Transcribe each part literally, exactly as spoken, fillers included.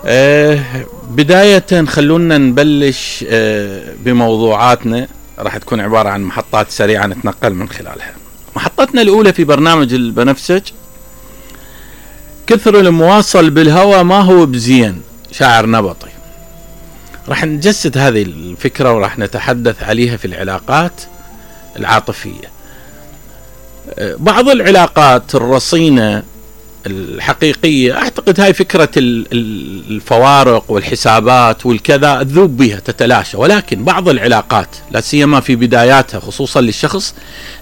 أه بداية خلونا نبلش أه بموضوعاتنا، راح تكون عبارة عن محطات سريعة نتنقل من خلالها. محطتنا الأولى في برنامج البنفسج، كثر المواصل بالهوى ما هو بزين، شاعر نبطي. راح نجسد هذه الفكرة وراح نتحدث عليها في العلاقات العاطفية. أه بعض العلاقات الرصينة الحقيقية أعتقد هاي فكرة الفوارق والحسابات والكذا تذوب بها تتلاشى، ولكن بعض العلاقات لا سيما في بداياتها خصوصا للشخص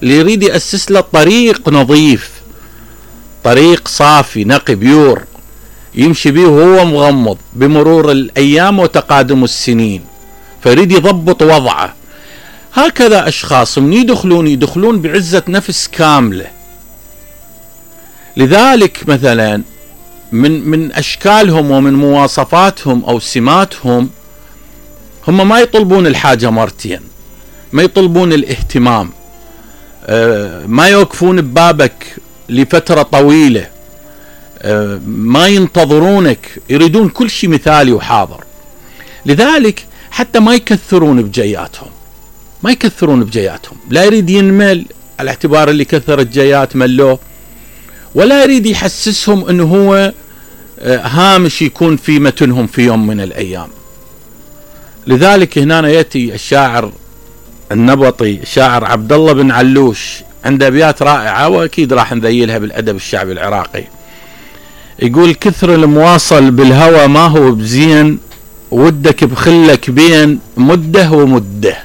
اللي يريد يأسس له طريق نظيف، طريق صافي نقي بيور يمشي به وهو مغمض بمرور الأيام وتقادم السنين، فيريد يضبط وضعه. هكذا أشخاص من يدخلون يدخلون بعزة نفس كاملة. لذلك مثلا من من أشكالهم ومن مواصفاتهم أو سماتهم، هم ما يطلبون الحاجة مرتين، ما يطلبون الاهتمام، ما يوقفون ببابك لفترة طويلة، ما ينتظرونك، يريدون كل شيء مثالي وحاضر. لذلك حتى ما يكثرون بجياتهم، ما يكثرون بجياتهم، لا يريد ينمل على اعتبار اللي كثر الجيات ملوه، ولا يريد يحسسهم انه هو هامش يكون في متنهم في يوم من الايام. لذلك هنا يأتي الشاعر النبطي الشاعر عبد الله بن علوش، عنده ابيات رائعة واكيد راح نذيلها بالادب الشعبي العراقي. يقول: كثر المواصل بالهوى ما هو بزين، ودك بخلك بين مده ومده.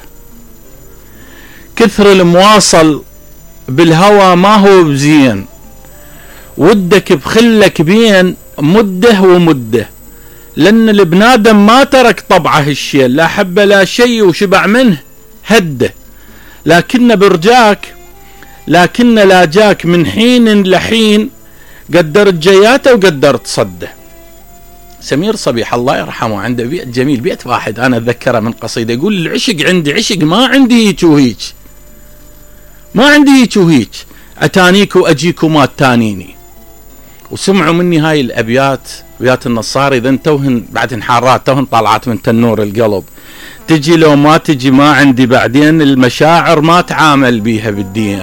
كثر المواصل بالهوى ما هو بزين، ودك بخلك بين مده ومده، لأن البنادم ما ترك طبعه الشيء، لا حب لا شيء وشبع منه هده، لكن برجاك لكن لا جاك من حين لحين، قدرت جياته وقدرت صده. سمير صبيح الله يرحمه عنده بيت جميل، بيت واحد أنا أتذكره من قصيدة، يقول: العشق عندي عشق، ما عندي هيك وهيك، ما عندي هيك وهيك، أتانيك وأجيك وما تانيني. وسمعوا مني هاي الأبيات، أبيات النصاري، إذا توهن بعدهن حارات، توهن طالعات من تنور القلب، تجي لو ما تجي ما عندي، بعدين المشاعر ما تعامل بيها بالدين.